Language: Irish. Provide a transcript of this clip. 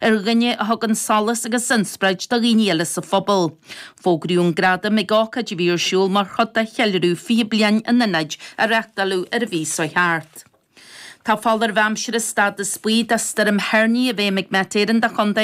Ar dhuine a thugann solas agus inspioráid do dhaoine eile sa phobal. Fógraíodh an gradam ag ócáid a bhí ar siúl mar chuid de cheiliúradh 20 bliain an Ionaid a reáchtáladh ar an mhí seo thart. Tá foláireamh aimsire stádas buí do Stoirm Herni i bhfeidhm ag Met Éireann do Chontae.